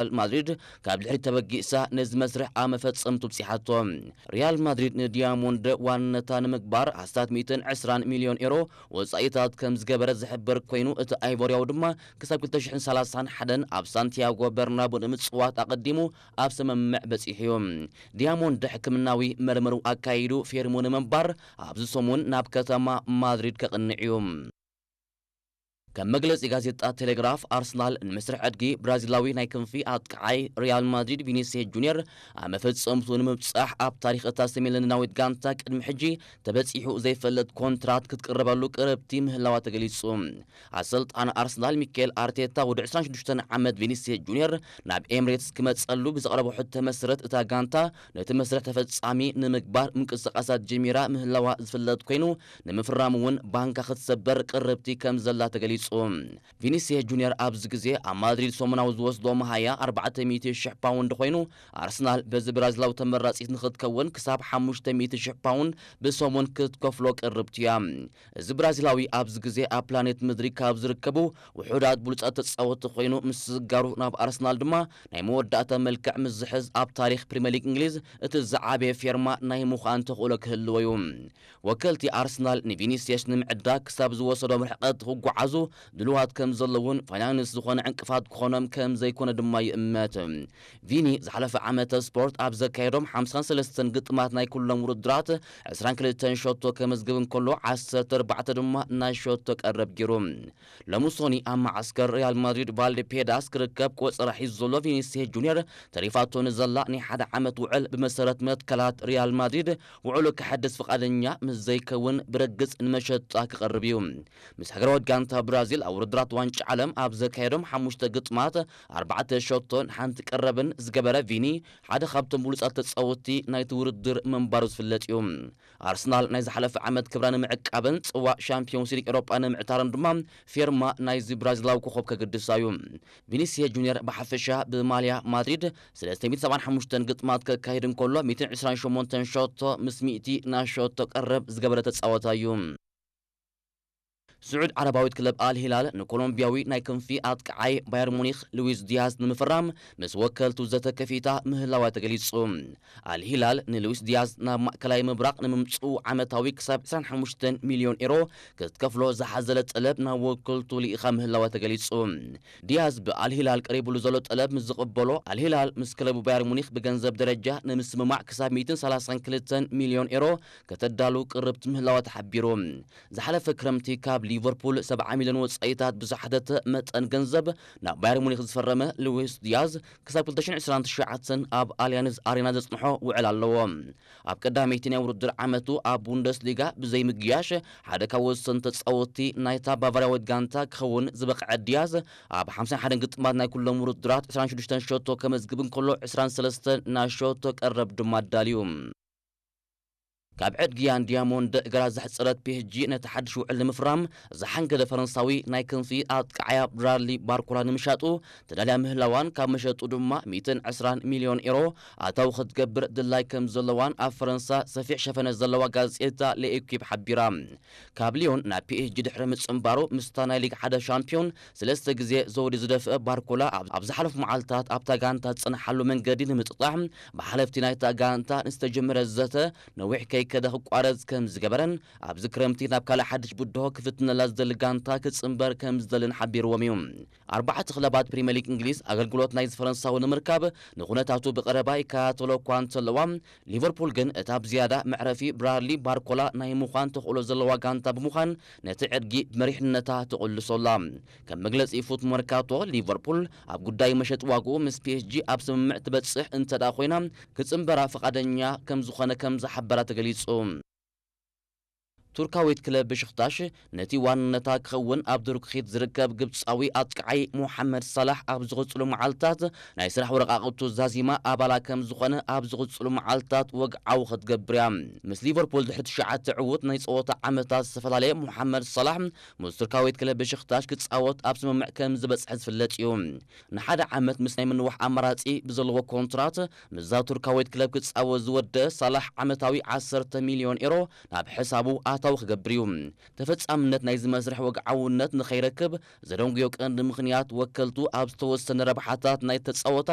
ሪያል ማድሪድ ካብ ድሕሪት ተበጊሳ ነዚ መስርሕ ኣብ መፈጸምቱ ብጺሓቶ። ሪያል ማድሪድ ንዲያሞንድ ዋንነታ ንምግባር ኣስታት ሚእትን ዕስራን ሚልዮን ኤሮ ወጻኢታት ከም ዝገበረ ዝሕበር ኮይኑ፣ እቲ ኣይቮርያዊ ድማ ክሳብ ክልተ ሽሕን ሰላሳን ሓደን ኣብ ሳንቲያጎ በርናቡ ንምጽዋት ኣቐዲሙ ኣብ ስምምዕ በጺሑ እዩ። ዲያሞንድ ሕክምናዊ መርመሩ ኣካይዱ ፌርሙ ንምንባር ኣብዚ ሰሙን ናብ ከተማ ማድሪድ ከቕንዕ እዩ። ከም መግለጺ ጋዜጣ ቴሌግራፍ፣ ኣርሰናል ንመስርሕ ዕድጊ ብራዚላዊ ናይ ክንፊ ኣጥቃዓይ ሪያል ማድሪድ ቪኒሲየስ ጁኒየር ኣብ መፈጸምቱ ንምብጻሕ ኣብ ታሪኽ እታ ሰሜን ለንደናዊት ጋንታ ቅድሚ ሕጂ ተበጺሑ ዘይፈልጥ ኮንትራት ክትቅረበሉ ቅርብቲ ምህላዋ ተገሊጹ። ኣሰልጣን ኣርሰናል ሚካኤል ኣርቴታ ወዲ ዕስራን ሽዱሽተን ዓመት ቪኒሲየስ ጁኒየር ናብ ኤምሬትስ ክመጸሉ ብዘቕረቦ ሕቶ መሰረት እታ ጋንታ ነቲ መስርሕ ተፈጻሚ ንምግባር ምንቅስቃሳት ጀሚራ ምህላዋ ዝፍለጥ ኮይኑ፣ ንምፍራም እውን ባንካ ክትሰበር ቅርብቲ ከም ዘላ ተገሊጹ። ቪኒሲየስ ጁኒየር ኣብዚ ግዜ ኣብ ማድሪድ ሰሙናዊ ዝወስዶ መሃያ ኣርባዕተ ሚእቲ ሽሕ ፓውንድ ኮይኑ፣ ኣርሰናል በዚ ብራዚላዊ ተመራጺት ንክትከውን ክሳብ ሓሙሽተ ሚእቲ ሽሕ ፓውንድ ብሰሙን ክትከፍሎ ቅርብቲ እያ። እዚ ብራዚላዊ ኣብዚ ግዜ ኣብ ፕላኔት ምድሪ ካብ ዝርከቡ ውሑዳት ብሉጻት ተጻወትቲ ኮይኑ፣ ምስ ስጋሩ ናብ ኣርሰናል ድማ ናይ መወዳእታ መልክዕ ምስ ዝሕዝ ኣብ ታሪኽ ፕሪምየር ሊግ እንግሊዝ እቲ ዝዓበየ ፌርማ ናይ ምዃን ተኽእሎ ክህልዎ እዩ። ወከልቲ ኣርሰናል ንቪኒሲየስ ንምዕዳግ ክሳብ ዝወሰዶም ርሕቀት ክጓዓዙ ድልዋት ከም ዘለውን ፋይናንስ ዝኾነ ዕንቅፋት ክኾኖም ከም ዘይኮነ ድማ ይእመት። ቪኒ ዝሓለፈ ዓመተ ስፖርት ኣብ ዘካየዶም ሓምሳን ሰለስተን ግጥማት ናይ ኩሎም ውድድራት ዕስራን ክልተን ሸቶ ከመዝግብ እንከሎ፣ ዓሰርተ ኣርባዕተ ድማ ናይ ሸቶ ቀረብ ገይሩ። ሎሚ ሶኒ ኣብ መዓስከር ሪያል ማድሪድ ቫልዴፔዳስ ክርከብ ቆጸራ ሒዙ ዘሎ ቪኒሲየስ ጁኒየር፣ ተሪፋቶ ንዘላ ናይ ሓደ ዓመት ውዕል ብመሰረት መትከላት ሪያል ማድሪድ ውዕሉ ክሐድስ ፍቓደኛ ምስ ዘይከውን ብርግጽ ንመሸጣ ክቐርብ እዩ። ምስ ሃገራዊት ጋንታ ብራዚል ኣብ ውድድራት ዋንጫ ዓለም ኣብ ዘካየዶም ሓሙሽተ ግጥማት ኣርባዕተ ሸቶን ሓንቲ ቀረብን ዝገበረ ቪኒ፣ ሓደ ካብቶም ብሉጻት ተጻወትቲ ናይቲ ውድድር ምንባሩ ዝፍለጥ እዩ። ኣርሰናል ናይ ዝሓለፈ ዓመት ክብራ ንምዕቃብን ጽዋእ ሻምፒዮንስ ሊግ ኤውሮጳ ንምዕታርን ድማ ፌርማ ናይዚ ብራዚላዊ ኮኸብ ከገድሳ እዩ። ቪኒሲየስ ጁኒየር ብሓፈሻ ብማልያ ማድሪድ ሰለስተ ሚእትን ሰብዓን ሓሙሽተን ግጥማት ከካይድ እንከሎ፣ ሚእትን ዕስራን ሸሞንተን ሸቶ ምስ ሚእቲ ናይ ሸቶ ቀረብ ዝገበረ ተጻዋታይ እዩ። ስዑድ ዓረባዊት ክለብ ኣል ሂላል ንኮሎምቢያዊ ናይ ክንፊ ኣጥቃዓይ ባየር ሙኒክ ሉዊስ ዲያዝ ንምፍራም ምስ ወከልቱ ዘተ ከፊታ ምህላዋ ተገሊጹ። ኣል ሂላል ንሉዊስ ዲያዝ ናብ ማእከላይ ምብራቕ ንምምጽኡ ዓመታዊ ክሳብ ዕስራን ሓሙሽተን ሚልዮን ኤሮ ክትከፍሎ ዝሓዘለ ጠለብ ናብ ወከልቱ ልኢኻ ምህላዋ ተገሊጹ። ዲያዝ ብኣል ሂላል ቀሪቡሉ ዘሎ ጠለብ ምስ ዝቕበሎ፣ ኣል ሂላል ምስ ክለቡ ባየር ሙኒክ ብገንዘብ ደረጃ ንምስምማዕ ክሳብ ሚእትን ሰላሳን ክልተን ሚልዮን ኤሮ ከተዳሉ ቅርብቲ ምህላዋ ተሓቢሩ። ዝሓለፈ ክረምቲ ካብ ሊቨርፑል ሰብዓ ሚልዮን ወጻኢታት ብዝሓተተ መጠን ገንዘብ ናብ ባየር ሙኒክ ዝፈረመ ሉዊስ ዲያዝ፣ ክሳብ ክልተ ሽሕን ዕስራን ትሽዓተን ኣብ ኣልያንዝ ኣሬና ዘጽንሖ ውዕል ኣለዎ። ኣብ ቀዳመይቲ ናይ ውድድር ዓመቱ ኣብ ቡንደስሊጋ ብዘይምግያሽ ሓደ ካብ ወሰንቲ ተጻወትቲ ናይታ ባቫርያዊት ጋንታ ክኸውን ዝበቕዐ ዲያዝ፣ ኣብ ሓምሳን ሓደን ግጥማት ናይ ኩሎም ውድድራት ዕስራን ሽዱሽተን ሸቶ ከመዝግብ እንከሎ፣ ዕስራን ሰለስተን ናይ ሸቶ ቀረብ ድማ ኣዳልዩ። ካብ ዕድጊያን ዲያሞንድ እግራ ዘሕጸረት ፒ ኤስ ጂ ነቲ ሓድሽ ውዕል ንምፍራም ዝሓንገደ ፈረንሳዊ ናይ ክንፊ ኣጥቃዓያ ብራድሊ ባርኮላ ንምሻጡ ተዳልያ ምህላዋን፣ ካብ መሸጡ ድማ ሚእትን ዕስራን ሚልዮን ኤሮ ኣታዊ ክትገብር ድላይ ከም ዘለዋን ኣብ ፈረንሳ ሰፊሕ ሸፈነ ዘለዋ ጋዜጣ ለኤኪፕ ሓቢራ። ካብ ሊዮን ናብ ፒ ኤስ ጂ ድሕሪ ምጽንባሩ፣ ምስታ ናይ ሊግ ሓደ ሻምፒዮን ሰለስተ ግዜ ዘውዲ ዝደፍአ ባርኮላ፣ ኣብ፣ ኣብ ዝሓለፉ መዓልታት ኣብታ ጋንታ ዝጸንሓሉ መንገዲ ንምጥጣሕ ብሓለፍቲ ናይታ ጋንታ ንዝተጀመረ ዘተ ነዊሕ ከይከደ ክቋረጽ ከም ዝገበረን፣ ኣብዚ ክረምቲ ናብ ካልእ ሓድሽ ብድሆ ክፍትነላ ዝደሊ ጋንታ ክጽንበር ከም ዝደልን ሓቢርዎም እዩ። ኣርባዕተ ክለባት ፕሪምየር ሊግ እንግሊዝ ኣገልግሎት ናይዚ ፈረንሳዊ ንምርካብ ንኹነታቱ ብቐረባ ይከታተሎ እኳ እንተለዋ፣ ሊቨርፑል ግን እታ ብዝያዳ መዕረፊ ብራድሊ ባርኮላ ናይ ምዃን ተኽእሎ ዘለዋ ጋንታ ብምዃን ነቲ ዕድጊ ብመሪሕነታ ትቕልሶ ኣላ። ከም መግለጺ ፉት መርካቶ፣ ሊቨርፑል ኣብ ጉዳይ መሸጢ ዋግኡ ምስ ፒ ኤስ ጂ ኣብ ስምምዕ ትበጽሕ እንተ ደኣ ኮይና፣ ክጽንበራ ፍቓደኛ ከም ዝኾነ ከም ዝሓበራ ተገሊጹ። ቱርካዊት ክለብ ብሽክታሽ ነቲ ዋንነታ ክኸውን ኣብ ድርኩኺት ዝርከብ ግብጻዊ ኣጥቃዓይ ሞሓመድ ሳላሕ ኣብ ዝቕጽሉ መዓልታት ናይ ስራሕ ወረቓቕቱ ዛዚማ ኣባላ ከም ዝኾነ ኣብ ዝቕጽሉ መዓልታት ወግዓዊ ክትገብር እያ። ምስ ሊቨርፑል ድሕሪ ትሽዓተ ዕዉት ናይ ጸወታ ዓመታት ዝተፈላለየ ሞሓመድ ሳላሕ ምስ ቱርካዊት ክለብ ብሽክታሽ ክጻወት ኣብ ስምምዕ ከም ዝበጽሐ ዝፍለጥ እዩ። ንሓደ ዓመት ምስ ናይ ምንዋሕ ኣማራጺ ብዘለዎ ኮንትራት ምስዛ ቱርካዊት ክለብ ክጻወት ዝወደ ሳላሕ ዓመታዊ ዓሰርተ ሚልዮን ኤሮ ናብ ሕሳቡ ኣታዊ ክገብር እዩ። ተፈጻምነት ናይዚ መስርሕ ወግዓውነት ንኸይረክብ ዘደንጉዮ ቀንዲ ምኽንያት ወከልቱ ኣብ ዝተወሰነ ረብሓታት ናይ ተጻወታይ